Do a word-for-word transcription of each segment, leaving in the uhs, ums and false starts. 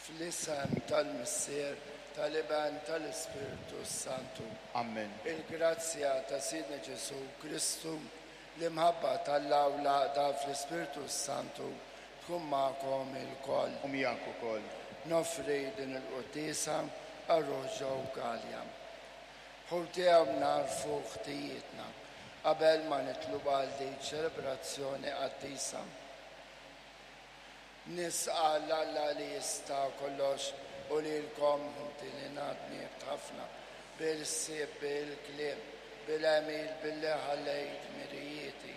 Fl-isem tal-Missier, tal-Iben, tal-Ispirtu Santu. Amen. Il-grazzja ta' Sidna Ġesù Kristu, l-imħabba t'Alla u l-għaqda fl-Ispirtu Santu tkun magħkom ilkoll. U miegħek ukoll. Noffri din il-quddiesa għal ruħ Joe Galea. Ħuti, nagħrfu ħtijietna qabel ma nidħlu għal din ċelebrazzjoni qaddisa. Nistqarr 'l Alla li jista' kollox u lilkom, ħuti, li dnibt ħafna bil-ħsieb, bil-kliem, bil-għemil, billi ħallejt dmirijieti.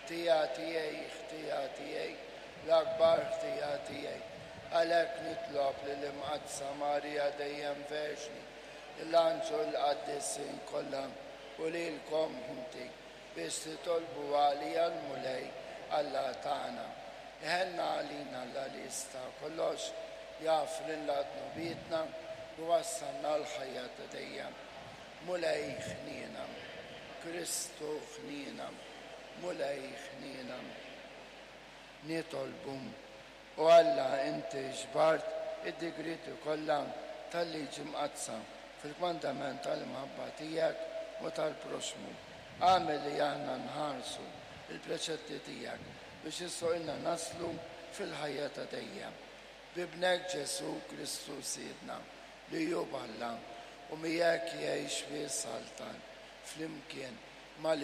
Ħtija tiegħi, ħtija tiegħi, l-akbar ħtija tiegħi. Għalhekk nitlob lill-Imqaddsa Marija dejjem Verġni, l-anġli, l-qaddisin kollha u lilkom, ħuti, biex titolbu għalija lill-Mulej Alla tagħna. Iħenn għalina Alla li jista' kollox, jaħfrilna dnubietna u jwassalna għall-ħajja ta' dejjem. Mulej ħniena, Kristu ħniena, Mulej ħniena. Nitolbu. O Alla, inti ġbart id-digrieti kollha tal-liġi mqaddsa fil-kmandament tal-imħabba tiegħek u tal-proxmu. Agħmel li aħna nħarsu il-preċetti tiegħek biex jistħoqqilna naslu fil-ħajja ta' dejjem. B'Ibnek Ġesù Kristu Sidna, li hu Alla u miegħek jgħix u jsaltan flimkien mal